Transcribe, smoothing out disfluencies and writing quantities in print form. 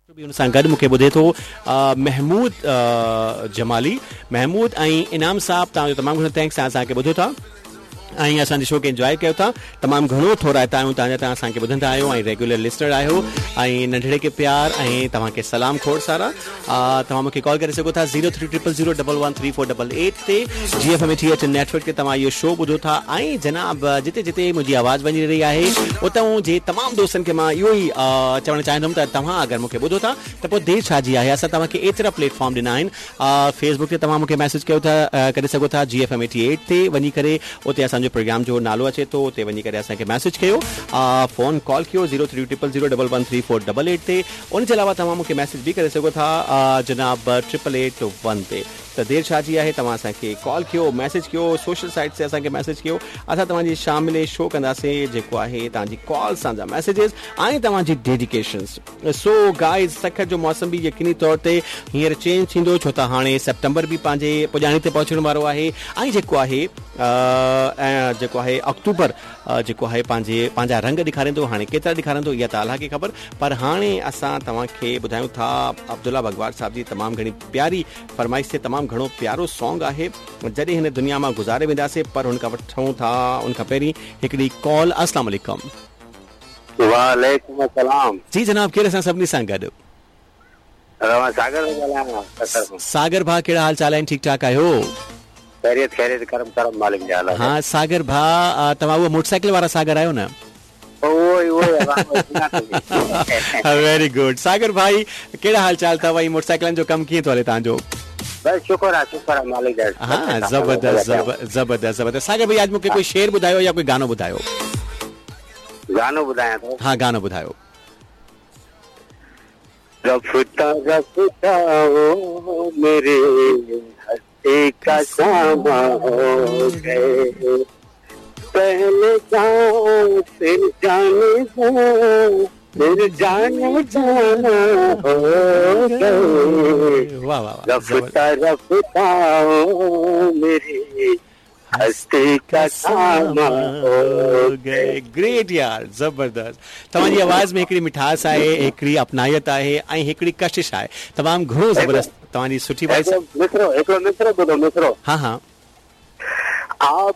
به ان سان گڏ مون کي ٻڌي ٿو محمود جمالي محمود ۽ انعام صاحب توهان جو تمام گهڻو thanks توهان اسان کي ٻڌو ٿا ۽ اسان جي شو کي انجوائي ڪيو ٿا تمام گهڻو ٿورائتا آهيون توهان جا توهان اسان کي ٻڌندا آهيو ۽ ريگيولر لسنر آهيو ۽ ننڍڙي کي پيار ۽ توهان کي سلام کوڙ سارا توهان مون کي ڪال ڪري سگهو ٿا zero three triple zero double one three four double eight تي جي F M eighty eight network تي توهان اهو شو ٻڌو ٿا ۽ جناب جتي جتي منهنجي آواز وڃي رهي آهي اتان جي تمام دوستن کي مان اهو ئي چوڻ چاهيندم ته توهان اگر مون کي ٻڌو ٿا ته پوء دير ڇا جي آهي اسان توهان کي ايترا پليٽ فارم ڏنا آهن فيس بڪ تي توهان مون کي ميسيج ڪيو ٿا ڪري سگهو ٿا جي ايف ايم ايٽي ايٽ تي وڃي ڪري اتي اسان جو پروگرام جو نالو اچي ٿو اتي وڃي ڪري اسان کي ميسيج ڪيو فون ڪال ڪيو zero three triple zero double one three four double eight تي ان جي علاوه توهان مون کي ميسيج به ڪري سگهو ٿا جناب ٽرپل ايٽ ون تي ته دير ڇا جي آهي توهان اسان کي ڪال ڪيو ميسيج ڪيو سوشل سائيٽس تي اسان کي ميسيج ڪيو اسان توهان جي شامل شو ڪنداسين جيڪو آهي توهان جي ڪالز توهان جا ميسيجز ۽ توهان جي ڊيڊيڪيشنز سو گائز سکر جو موسم به يقيني طور تي هينئر چينج ٿيندو ڇو ته هاڻي سيپٽمبر به پنهنجي پڄاڻي تي پهچڻ وارو آهي ۽ جيڪو آهي ۽ جيڪو آهي آڪٽوبر جيڪو آهي پنهنجي پنهنجا رنگ ڏيکاريندو هاڻي ڪيترا ڏيکاريندو اها ته الله کي خبر پر هاڻي اسان توهان کي ٻڌايون ٿا عبدالله بگوار صاحب جي تمام گهڻي پياري فرمائش تي تمام گهڻو پيارو سانگ آهي جڏهن هن دنيا مان گذاري وينداسين پر هن کان وٺون ٿا ان کان پهرين هڪڙي ڪال السلام عليڪم. وعليڪم السلام. جي جناب ڪير اسان سڀني سان گڏ. مان ساگر ٿو ڳالهايان سکر کان. ساگر ڀاء ڪهڙا حال چال آهن ٺيڪ ٺاڪ آهيو. خيريت خيريت ڪرم ڪرم مالڪ جا ها ساگر ڀاء توهان اهو موٽر سائيڪل وارا ساگر آهيو نه. اهو ئي اهو ئي سڃاتو ويري گڊ ساگر ڀائي ڪهڙا حال چال اٿو ۽ موٽر سائيڪلن جو ڪم ڪيئن ٿو هلي توهان جو. بس شڪر آ شڪر آ مالڪ جا. ها زبردست زبردست زبردست ساگر ڀائي اڄ مونکي ڪوئي شعر ٻڌايو يا ڪوئي گانو ٻڌايو. گانو ٻڌايان ٿو. ها گانو ٻڌايو. رفته رفته هو ميري هستي ڪا ساما هو گئي پهلي جان ڦر جان جان ڦر جان جانا هو گئي واه واه واه رفته رفته هو ميري هستي ڪا ساما هو گئي. گريٽ يار زبردست توهان جي آواز ۾ هڪڙي مٺاس آهي هڪڙي اپنائيت آهي ۽ هڪڙي ڪشش آهي تمام گهڻو زبردست توهان جي سٺي وائس هڪڙو مصرعو هڪڙو مصرعو ٻڌو مصرعو ها ها. آپ.